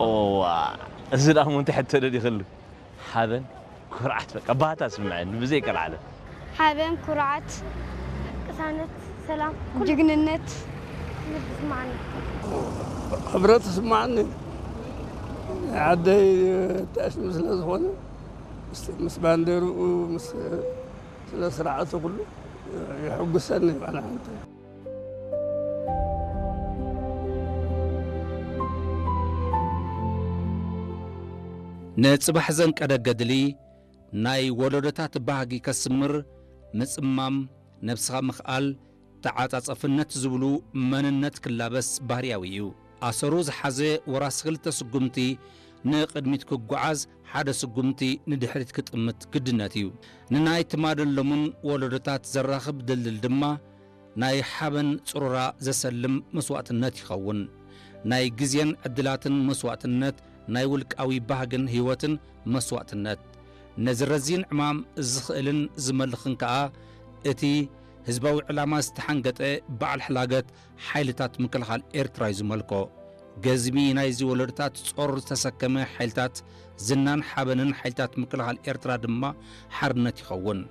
እዋ፣ እዚ ደኣ እሞ እንታይ ሕቶ ደሊኽሉ? ሓበን፣ ኩርዓት፣ በቃ ባህታ ስምዐኒ ብዘይ ቀልዓለም። ሓበን፣ ኩርዓት፣ ቅሳነት፣ ሰላም፣ ጅግንነት። ክብረት ይስማዓኒ። ናይ ዓደይ ጠስሚ ስለ ዝኾነ ምስ ባንዴርኡ ምስ ስነ ስርዓቱ ኩሉ የሕጉሰኒ። ባና ሓንቲ ንጽባሕ ዘንቀደ ገድሊ ናይ ወለዶታት ባህጊ ከስምር ምጽማም፣ ነብስኻ ምኽኣል፣ ተዓጻጸፍነት ዝብሉ መንነት ክላበስ ባህርያዊ እዩ። ኣሰሩ ዝሓዘ ወራሲ ክልተ ስጉምቲ ንቕድሚት ክጓዓዝ፣ ሓደ ስጉምቲ ንድሕሪት ክጥምት ግድነት እዩ። ንናይ ትማልን ሎምን ወለዶታት ዘራኽብ ድልድል ድማ ናይ ሓበን ጽሩራ ዘሰልም መስዋእትነት ይኸውን። ናይ ግዜን ዕድላትን መስዋእትነት፣ ናይ ውልቃዊ ባህግን ህይወትን መስዋእትነት። ነዚ ረዚን ዕማም ዝኽእልን ዝመልኽን ከኣ እቲ ህዝባዊ ዕላማ ዝተሓንገጠ በዓል ሕላገት ሓይልታት ምክልኻል ኤርትራ እዩ ዝመልኮ። ገዝሚ ናይዚ ወለዶታት ጾር ዝተሰከመ ሓይልታት ዝናን ሓበንን ሓይልታት ምክልኻል ኤርትራ ድማ ሓርነት ይኸውን።